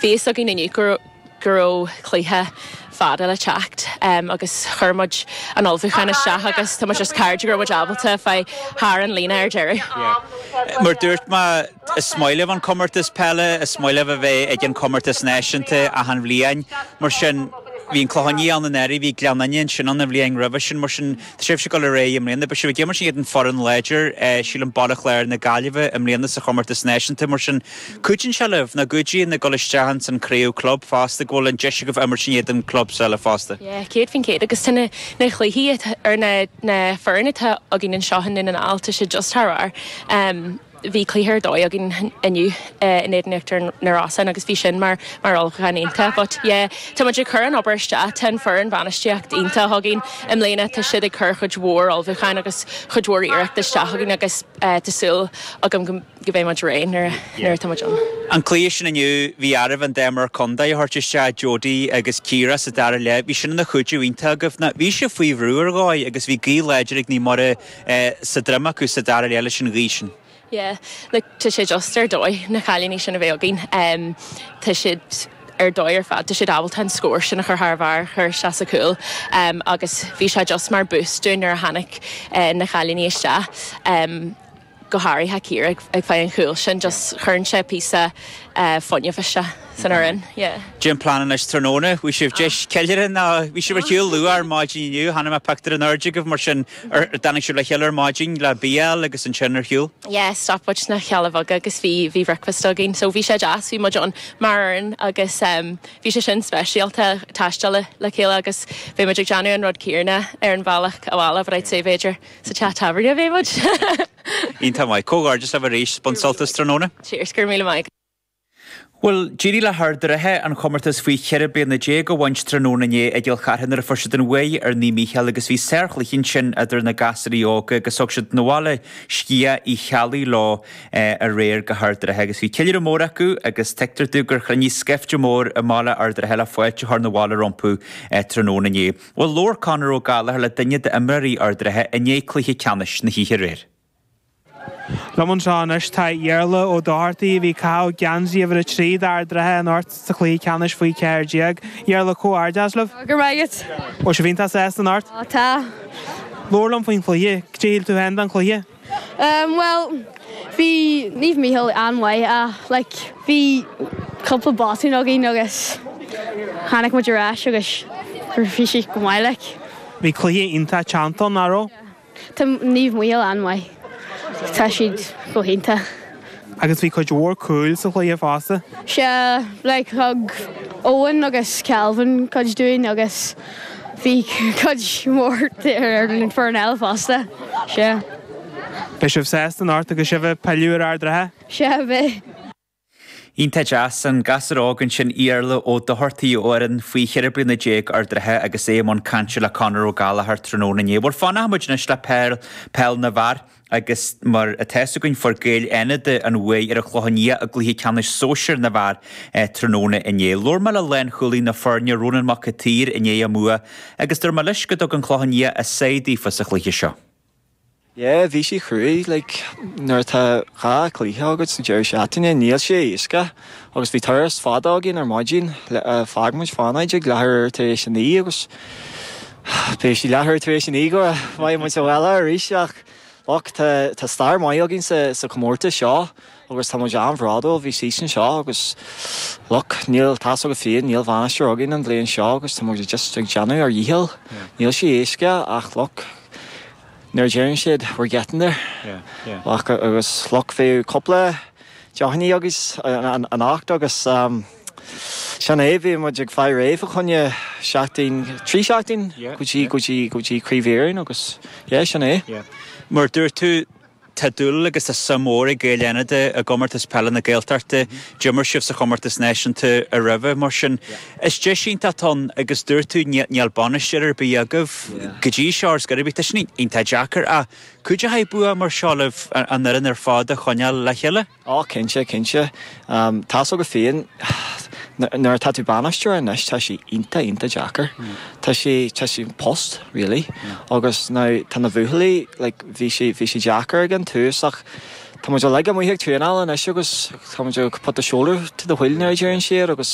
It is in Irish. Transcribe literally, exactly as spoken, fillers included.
Bhí a fhios againn inniu go go raibh cluiche fada le teacht um, agus chuir muid an ullmhúchán isteach agus tá just cairde go raibh muid ábalta fáil thar an líne ar deireadh. Mar dúirt mé is maith libh an comórtas peile is maith libh a bheith ag an comórtas náisiúnta achan bhliain mar sin bhí an Clochán Liath ann anuraidh bhí Gleann Fhinne ansin an bhliain roimhe sin mar sin sibh ag dul ar aghaidh i mbliana, beidh sibh ag imirt in éadan foireann láidir sílim Baile Chláir na Gaillimhe i mbliana sa chomórtas náisiúnta mar sin cuidíonn sé libh na gcuidíonn ag dul isteach san craobh club fosta go bhfuil an deis agaibh imirt in éadan club eile fosta. Yeah, céad faoin chéad agus tá na na cluichí ar na na foirne atá againn anseo in Dún na nGall tá sé just thar barr. Um, bhí cluiche ar dóigh againn inniu in éadan Íochtar na Rosann agus bhí sin mar mar ullmhúchán iontach, but yeah, tá muid ag cur an obair isteach tá an foireann bhainistíocht iontach againn i mbliana tá siad ag cur chuid mhór ullmhúcháin agus chuid mhór iarracht isteach againn agus uh, tá súil agam go go mbeidh muid réidh nuair nuair atá muid ann. An cluiche sin inniu bhí oraibh an dá imreoir contae a thabhairt isteach Jody agus Ciara sa dara leath, bhí sin ina chuidiú iontach agaibh na bhí sé faoi bhrú ar dhóigh agus bhí gaoth láidir ag Naomh Muire eh, sa droim acu sa dara leath leis an ghaoth sin. Yeah, like, tá sé just ar dóigh na cailíní sin a bheith againn. Um, tá siad ar dóigh ar fad, tá siad ábalta an scór sin a chur thar bharr chur isteach sa cúl um, agus bhí sé just mar boost dúinn nuair a tháinig uh, na cailíní isteach. Um, go háirithe Ciara ag, ag fáil an chúl sin just chuireann sé píosa uh, fuinnimh isteach san fhoireann. Yeah. Cén plean anois tráthnóna, bhí sibh deis ceiliúradh ná bhí sibh ar shiúl luath ar maidin inniu, chonaic mé pictiúr in airde agaibh mar sin ar dtáinig sibh le chéile ar maidin le bia agus ansin ar shiúl. Yeah, stop muid sna Cealla Beaga agus bhí bhí breakfast againn, so bhí sé deas bhí muid ann mar fhoireann agus um, bhí sé sin speisialta taisteal le, le chéile agus bhí muid ag déanamh an rud céanna ar an bhealach abhaile but I'd say b'fhéidir sa teach tábhairne bhí muid. Iontach maith, comhghairdeas libh arís bain sult as tráthnóna. Cheers go raibh míle maith. Well, d'éirigh le hArd an Rátha an chomórtas faoi cheithre bliana déag a bhaint tráthnóna inné i gCill Chartha nuair a fuair siad an bhuaidh ar Naomh Mícheál agus bhí sárchluiche ansin idir na gasúirí óga agus thug siad na bhaile Sciath Uí Cheallaigh leo aréir go hArd an Rátha agus bhí ceiliúradh mór acu agus tuigtear dom gur chruinnigh scaifte mór i mbaile Ard an Rátha le fáilte a chur na bhaile rompu tráthnóna inné. Well, labhair Conor Ó Gallchóir le duine d'imreoirí Ard an Rátha i ndiaidh cluiche ceannais na hoíche aréir. Liom anseo anois tá Iarla Ó Dochartaigh a bhí ag caitheamh geansaí uimhir a trí d'Ard an Rátha anocht sa chluiche ceannais faoi ceathair déag. Iarla comhghairdeas libh? Go raibh. Ó sé bhíonn sásta anocht? Tá. Labhair liom faoin chluiche, cad é shíl tú féin den chluiche? Um, well, bhí Naomh Mícheál an-mhaith uh, like, bhí cúpla botún againn agus tháinig muid ar ais agus bhí sé go maith like. Bhí cluiche iontach teannta nach raibh? Tá Naomh Mícheál an-mhaith. Tá siad go hiontach. Agus bhí cuid mhór cúil sa chluiche fosta. Sé like, thug Owen agus Calvin cuid dúinn agus bhí cuid mhór ar an foireann eile fosta. Sé. Beidh sibh sásta anocht agus sibh ag pilleadh ar Ard an Rátha? Sé bheidh. Iontach deas an gasúr óg ansin Iarla Ó Dochartaigh ó fhoireann faoi cheithre bliana déag Ard an Rátha agus é i mbun cainte le Conor Ó Gallchóir tráthnóna inné. Bhuel fanfaidh muid anois le peil peil na bhfear agus mar atá againn fuair Gaeil Fhánada an bhuaidh ar an Chlochán Liath i gcluiche ceannais sóisir na bhfear tráthnóna inné. Labhair mé le lánchúlaí na foirne Ronan Mac a Tír i ndiaidh a mbua agus dúirt mé leis go dtug an Clochán Liath a sáith daofa sa chluiche seo. Yeah, bhí sé cruaidh like, nuair atá dhá chluiche agat sa deireadh seachtaine níl sé éasca agus bhí turas fada againn ar maidin d'fhág muid Fánaid ag leathuair tar éis a naoi agus bhí sé leathuair tar éis a naoi go mbeidh muid sa bhaile arís ach look tá tá stair maith againn sa sa chomórtas seo agus tá muid an-bhródúil bhí season seo agus look níl tá a fhios agat féin níl bainisteoir againn an bhliain seo agus tá muid just ag déanamh ár ndícheall. Níl sé éasca ach look nuair a deireann siad we're getting there. Yeah, yeah. Ach agus look bhí cúpla deochaní agus an anocht agus um, sin é bhí muid ag fáil réidh fá choinne seachtain trí seachtain go dtí go dtí go dtí Craobh Éireann agus yeah, sin é. Yeah. Mar dúirt tú tá dúil agus tá suim mhór ag Gaeil Fhánada i gcomórtas peile na Gaeltachta, d'imir sibh sa chomórtas náisiúnta a roimhe mar sin. Is deis iontach ann agus dúirt tú níl bainisteoir ar bith agaibh go dtí seo ar scor ar bith tá sin iontach deacair ach cuideoidh bua mar seo libh an fhoireann ar fad a choinneáil le chéile? Á cinnte cinnte. Um, tá a fhios agat féin nuair atá tú bainisteoir anois tá sé iontach iontach deacair. Tá sé tá sé post really agus now tá na buachaillí like bhí sé bhí sé deacair ag an tús ach Tá muid uilig amuigh ag traenáil anois agus tá muid ag put the shoulder to the wheel nuair a deireann siad agus